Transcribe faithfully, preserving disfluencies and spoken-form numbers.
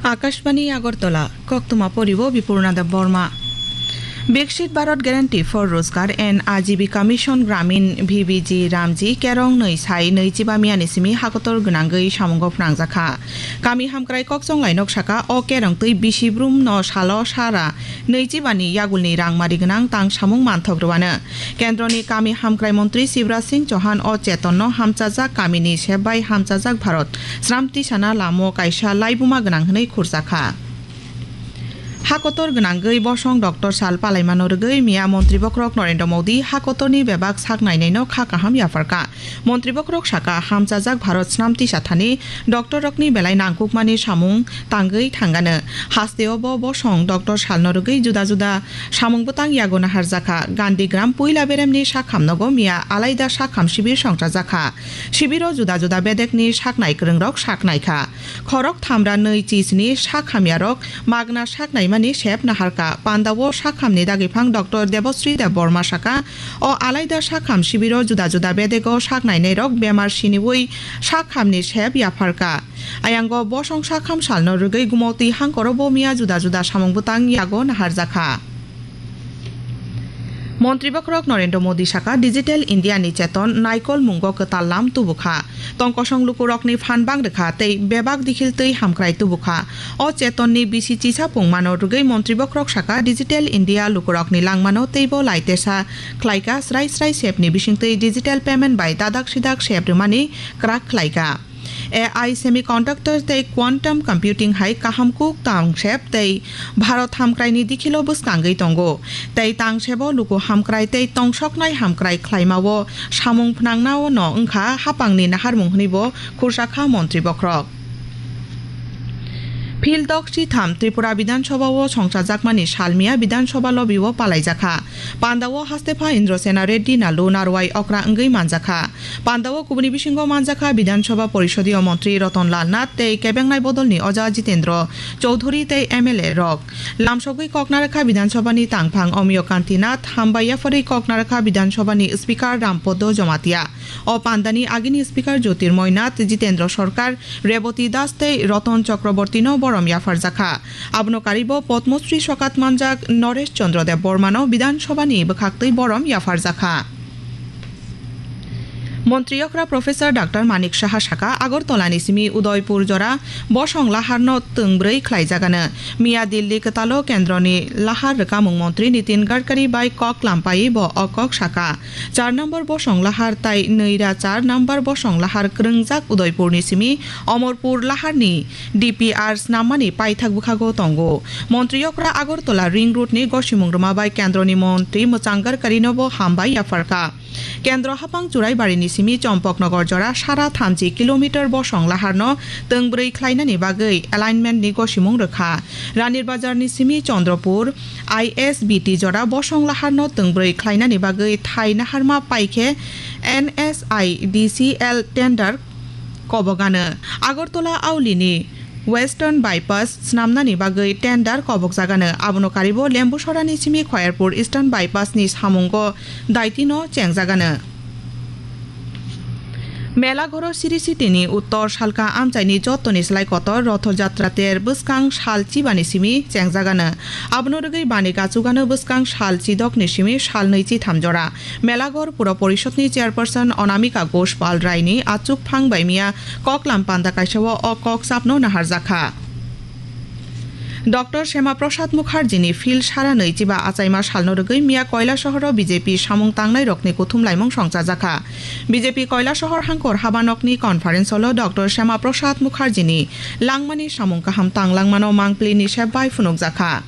Akashbani Agartala, koktwma poribo Bipurna Deb Borma. Viksit Bharat Guarantee for Rozgar and Ajibika Mission Gramin V B G Ramji kerong nwi sai nwichiba miyani simi hakotor gwnangwi samungo phnangjakha. Kami hamkrai kokchonglai nok saka o kerong twi bisi brum no salo sara nwichiba ni yagulni rangmari gwnang tang samung manthok rwano. Kendroni kami hamkrai montri Shivraj Singh Chauhan o chetonno hamchajak kamini sep bai hamchajak Bharat sramti sana lamo kaisa laibuma gwnang hwnwi khurjakha. Hakotor gwnangwi bosong doctor sal palaimano rwgwi miya montri bokhorok Narendra Modi hakotorni bebak sak nainaino kha kaham yapharkha. Montri bokhorok saka, hamchajak Bharat snam tisa thani doctor rokni belai nangkukmani samung tangwi thangano. Hasteo bo bosong doctor salno rwgwi juda juda samung bwtang yago naharjakha. Gandhi Gram puila beremni sakham nogo miya alaida sakham sibir songchajakha. Sibiro juda juda bedekni saknai kwrwngrok saknaikha. Khorok thamra nwi chisni sak hamyarok magna sak naimani sep naharkha. Pandao sak hamni dagiphang doctor Debosri Debbarma saka, o alaida sak ham sibiro juda juda bedego sak nainairok bemar siniwi sak hamni sep yapharkha. Ayango bosong sak ham salno rwgwi gumotwi hangkoro bo miya juda juda samung bwtang yago naharjakha. Montri bokhorok Narendra Modi saka, Digital India ni cheton naikol mungo kwtal lam tubukha. Tongkosong lukurokni phan bang rwkha tei bebak dikhil twi hamkrai tubukha. O chetonni bisi chisa pungmano rwgwi montri bokhorok saka, Digital India lukurokni langmano teibo laitesa khlaika, srai srai sepni bisingtwi digital payment bai dadak sidak sep rwmani kwrak khlaika. A I semiconductor tei quantum computing hai kaham kuk tang sep tei Bharat hamkraini dikhilo bwskangwi tongo. Tei tang sebo luku hamkrai tei tongsoknai hamkrai khlaimao samung phnangnao no wngkha hapangni naharmung hwnwi bo khursa kha montri bokhorok. Phil dok sitham Tripura Bidhan Sabha o songchajakmani salmiya Bidhan Sabha lobby o palaijakha. Pandao hastepha Indra Sena Reddy Nalu narwai okra wngwi manjakha. Pandao kubuni bisingo manjakha Bidhan Sabha Porisodiyo Montri Ratan Lal Nath tei kebengnai bodolni Oja Jitendra Chowdhury tei M L A rok. Lamsogwi kok narakha Bidhan Sabha ni tangphang Omiyo Kanti Nath, hambai yapharwi kok narakha Bidhan Sabha ni Speaker Ram Podo Jamatia. O pandani agini Speaker Jyotirmoy Nath, Jitendra Sarkar, Reboti Das tei Ratan Chakraborty no borom yapharjakha. Abono karibo Padma Shri sokat manjak Naresh Chandra Deb Borma no Bidhan Sabha ni bwkhaktwi borom yapharjakha. Montri okra Professor Doctor Manik Saha saka, Agartala ni simi Udaipur jora bosong lahar no twngbrwi khlaijagano. Miya Delhi kwtalo kendroni lahar rwkamung montri Nitin Gadkari bai kok lampai bo o kok saka. Char number bosong lahar tai nwi ra char number bosong lahar kwrwngjak Udaipurni simi Omorpur laharni D P R snammani paithak bwkhago tongo. Montri okra Agartala Ring Road ni gosimung rwma bai kendroni montri Mwchang Gadkarino bo hambai yapharkha. Kendro hapang Churaibarini simi Champaknagar jora sara thamchi kilometer bosong laharno twngbrwi khlainani bagwi alignment ni gosimung rwkha. Ranir Bazarni simi Chandrapur I S B T jora bosong laharno twngbrwi khlainani bagwi thai naharma paikhe N S I D C L tender kobogano. Agartala Aulini Western Bypass snamnani bagwi tender kobokjagano. Abono karibo Lembusorani simi Khoyerpur Eastern Bypass ni samungo daitino chengjagano. Melaghoro Sri City ni uttor salka amchaini jottoni slai kotor Rotho Jatra ter bwskang sal chibani simi chengjagano. Abono rwgwi bani gachugano bwskang sal chidokni simi sal nwi chitham jora. Melaghor Pura Porishod ni Chairperson Anamika Ghosh Pal Rai ni achukphang bai miya koklam panda kaisa o o kok chapno naharjakha. Doctor Shema Prasad Mukherjee ni phil sara nwi chiba achaima salno rwgwi miya Koilasahar o B J P samung tangnai rokni kuthum laimung songchajakha. B J P Koilasahar hangkor habanokni conference hall o Doctor Shema Prasad Mukherjee ni langmani samung kaham tanglangmano mangpili ni sep bai phunukjakha.